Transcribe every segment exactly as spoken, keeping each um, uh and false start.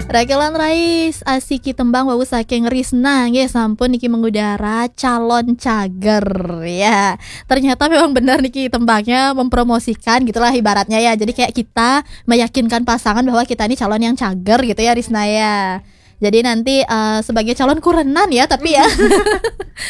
Rakelan rais, asiki tembang wau saking Risna nggih, sampun niki mengudara calon cager ya. Ternyata memang benar niki tembangnya mempromosikan gitulah ibaratnya ya. Jadi kayak kita meyakinkan pasangan bahwa kita ini calon yang cager gitu ya, Risna ya. Jadi nanti eh, sebagai calon kurenan ya, tapi ya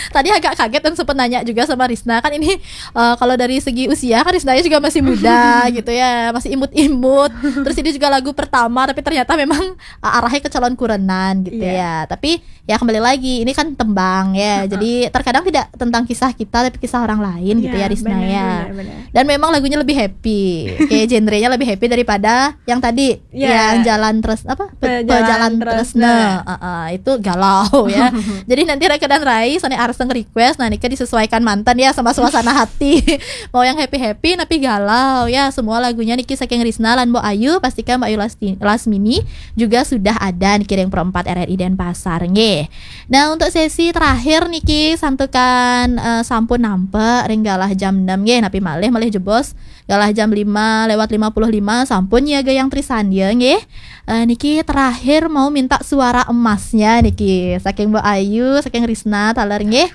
tadi agak kaget dan sempet nanya juga sama Risna, kan ini eh, kalau dari segi usia kan Risna juga masih muda gitu ya, masih imut-imut. Terus ini juga lagu pertama, tapi ternyata memang eh, arahnya ke calon kurenan gitu Iya. Ya. Tapi ya kembali lagi, ini kan tembang ya. Jadi terkadang tidak tentang kisah kita tapi kisah orang lain gitu Iya, ya, Risna benar, ya. Benar, benar. Dan memang lagunya lebih happy, kayak genrenya lebih happy daripada yang tadi, Iya. yang jalan terus apa Pe- Pejalan pejalan Tresna. Tresna. Heeh, itu galau ya. Jadi nanti Raka dan Rai Sone Arseng request, nah niki disesuaikan mantan ya sama suasana hati. Mau yang happy happy tapi galau ya. Semua lagunya niki saking Risna lan Mbok Ayu, pastikan Mbok Ayu Lasti- Lasmini juga sudah ada niki ring Pro empat R R I Denpasar nggih. Nah, untuk sesi terakhir niki santukan eh, sampun nampe ring galah jam enam nggih, napi malih malih jebos galah jam lima lewat lima puluh lima sampun nyiaga yang Trisandya nggih. Eh, niki terakhir mau minta suara emasnya niki saking Mbok Ayu, saking Risna taler nggih.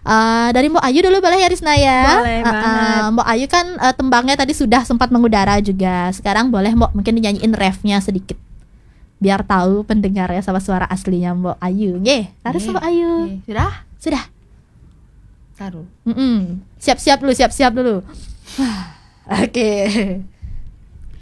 Eh, dari Mbok Ayu dulu boleh ya, Risna ya? Boleh Eh, eh, banget. Mbok Ayu kan eh, tembangnya tadi sudah sempat mengudara juga. Sekarang boleh Mbok mungkin dinyanyiin refnya sedikit biar tahu pendengarnya sama suara aslinya Mbok Ayu nggih. Terus Nggih. Mbok Ayu. Oke, sudah? Sudah. Taruh. Mm-mm. Siap-siap dulu, siap-siap dulu. Oke.